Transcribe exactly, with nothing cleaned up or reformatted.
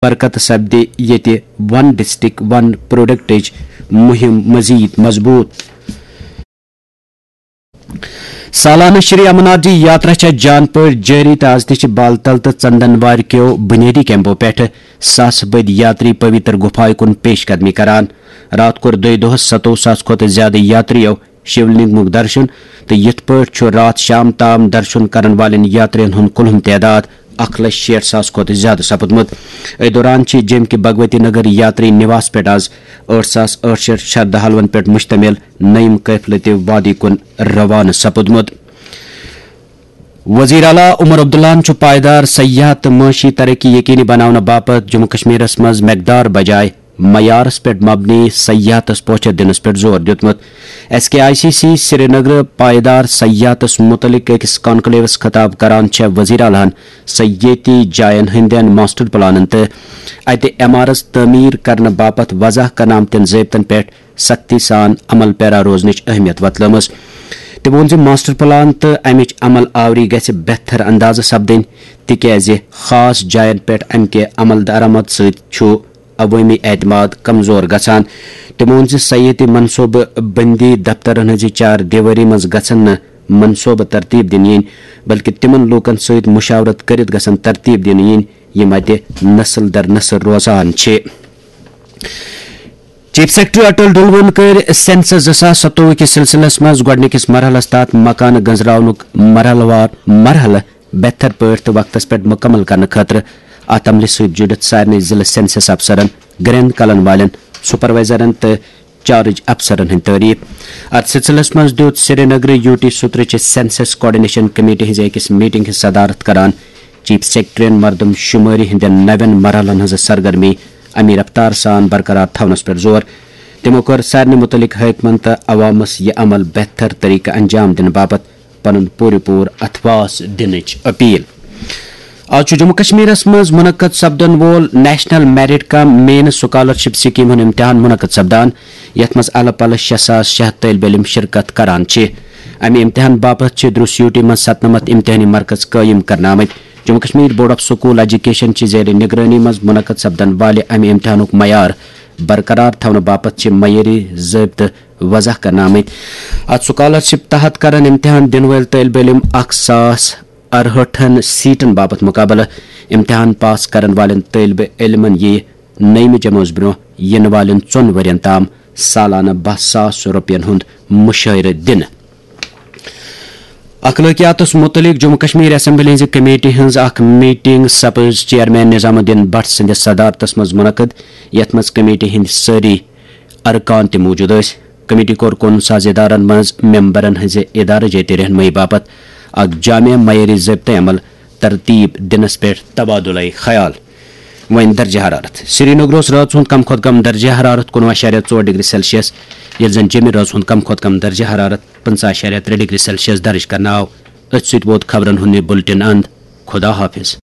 برکت سپدِ ییٚتہِ ون ڈسٹرکٹ ون پروڈکٹٕچ مُہِم مزید مضبوط۔ سالانہٕ شری امرناتھ جی یاترا چھےٚ جان پٲٹھۍ جٲری تہٕ از تہِ چھِ بالتل تہٕ ژندن وارِ کیو بُنیٲدی کیمپو پٮ۪ٹھٕ ساسہٕ بٔدۍ یاتری پویتر گُفایہِ کُن پیش قدمی کران۔ راتھ کوٚر دۄیہِ دۄہس ستووُہ ساس کھۄتہٕ زیادٕ یاتریو شیولنگمُک درشن تہٕ یِتھ پٲٹھۍ چھُ راتھ شام تام درشن کرن والٮ۪ن یاترین ہُنٛد کُلہُم تعداد اکھ لچھ شیٹھ ساس کھۄتہٕ زیادٕ سپُدمُت۔ أتھۍ دوران چھِ جیٚمہِ کہِ بھگوتی نگر یاتری نواس پٮ۪ٹھ از ٲٹھ ساس ٲٹھ شیٹھ شردھالوَن پٮ۪ٹھ مشتمل نعیم قٲفلہٕ تہِ وادی کُن روانہٕ سپُدمُت۔ وزیر اعلیٰ عمر عبداللہَن چھُ پائیدار سیاحت تہٕ معاشی ترقی یقینی بناونہٕ باپتھ جموں کشمیرس منٛز مقدار بجائے معیارس پٮ۪ٹھ مبنی سیاحتس پوچھر دِنس پٮ۪ٹھ زور دیُتمُت۔ S K I C C Srinagar پائیدار سیاحتس متعلق أکِس کانکلیوس خطاب کران چھےٚ وزیر اعلیٰ ہن سیاحتی جاین ہٕنٛدٮ۪ن ماسٹر پلانن تہٕ اتہِ عمارژ تعمیٖر کرنہٕ باپتھ وضع کرنہٕ آمتٮ۪ن ضٲبطن پٮ۪ٹھ سختی سان عمل پیرا روزنٕچ اہمیت وۄتلٲومٕژ۔ تٔمۍ ووٚن زِ ماسٹر پلان تہٕ امِچ عمل آوری گژھِ بہتر اندازٕ سپدٕنۍ، تِکیازِ خاص جاین پٮ۪ٹھ امہِ کہِ عمل درآمد سۭتۍ چھُ عوٲمی اعتماد کمزور گژھان۔ تٔمۍ ووٚن زِ سیٲحتی منصوبہٕ بندی دفترن ہٕنٛزِ چار دیوٲری منٛز گژھن نہٕ منصوبہٕ ترتیب دِنہٕ یِنۍ، بلکہِ تِمن لوٗکن سۭتۍ مشاورت کٔرِتھ گژھن ترتیب دِنہٕ یِنۍ، یِم اتہِ نسل در نسل روزان چھِ۔ چیف سیکرٹری اٹل ڈلوَن کٔرۍ سینسس زٕ ساس ستووُہ کِس سلسلس منٛز گۄڈٕنِکِس مرحلس تحت مکانہٕ گنزراونُک مرحلہٕ وار مرحلہٕ بہتر پٲٹھۍ تہٕ وقتس پٮ۪ٹھ مکمل کرنہٕ خٲطرٕ اتھ عملہِ سۭتۍ جُڑِتھ سارنٕے ضلعہٕ سینسس افسرن، گرینڈ کلن والٮ۪ن، سپروائزرن تہٕ چارج افسرن ہٕنٛدۍ تعریف۔ اتھ سلسلس منٛز دیُت سرینگرٕ یو ٹی سترٕچہِ سینسس کوآرڈینیشن کمیٹی ہٕنٛزِ أکِس میٹنگ ہٕنٛز صدارت کران چیف سیکرٹریَن مردم شمٲری ہٕنٛدٮ۪ن نوٮ۪ن مرحلن ہٕنٛز سرگرمی امی رفتار سان برقرار تھاونس پٮ۪ٹھ زور۔ تِمو کٔر سارنٕے متعلق حٲکمن تہٕ عوامس یہِ عمل بہتر طریقہٕ انجام دِنہٕ باپتھ پنُن پوٗرٕ پوٗرٕ اتھواس دِنٕچ اپیل۔ آز چھُ جموں کشمیرس منٛز منعقد سپدن وول نیشنل میرٹ کم مین سکالرشپ سکیٖم ہُنٛد امتحان منعقد سپدان، یتھ منٛز الہٕ پلہٕ شےٚ ساس شےٚ ہتھ طٲلب علم شرکت کران چھِ۔ امہِ امتحان باپتھ چھِ دروس یو ٹی منٛز ستنمتھ امتحانی مرکز قٲیِم کرنہٕ آمٕتۍ۔ Jammu Kashmir board of school education چھِ زیر نگرٲنی منٛز منعقد سپدن والہِ امہِ امتحانُک معیار برقرار تھاونہٕ باپتھ چھِ معیٲری ضٲبطہٕ وضع کرنہٕ آمٕتۍ۔ اتھ سکالرشپ تحت کرن امتحان دِنہٕ وٲلۍ طٲلب علم اکھ ساس ارہٲٹھن سیٹن باپتھ مقابلہٕ۔ امتحان پاس کرن والٮ۪ن طٲلب علمن یِیہِ نٔیمہِ جمٲژ برونٛہہ یِنہٕ والٮ۪ن ژۄن ؤرین تام سالانہٕ باہ ساس رۄپین ہُنٛد مُشٲہرٕ دِنہٕ۔ اخلٲقیاتس متعلق جموں کشمیر اسمبلی ہٕنٛزِ کمیٹی ہٕنٛز اکھ میٹنگ سپٕز چیئرمین نظام الدین بٹ سٕنٛدِس صدارتس منٛز منعقد، یتھ منٛز کمیٹی ہٕنٛدۍ سٲری ارکان تہِ موجود ٲسۍ۔ کمیٹی کوٚر کُن ساز ادارن منٛز ممبرن ہٕنٛزِ ادارٕ جٲتی رہنمٲیی باپتھ اکھ جامع معیٲری ضٲبطہٕ عمل ترتیب دِنس پٮ۪ٹھ تبادلہ خیال۔ وۄنۍ درجہ حرارت۔ سرینگر اوس رٲژ ہُنٛد کم کھۄتہٕ کم درجہ حرارت کُنوُہ اَشاریہ ژور ڈگری سیلسیس، ییٚلہِ زن جیٚمہِ رٲژ ہُنٛد کم کھۄتہٕ کم درجہ حرارت پٕنٛژٕہ اَشاریہ ترٛےٚ ڈگری سیلسیس درج کرنہٕ آو۔ أتھۍ سۭتۍ ووت خبرن ہُنٛد یہِ بُلٹن اند۔ خدا حافظ۔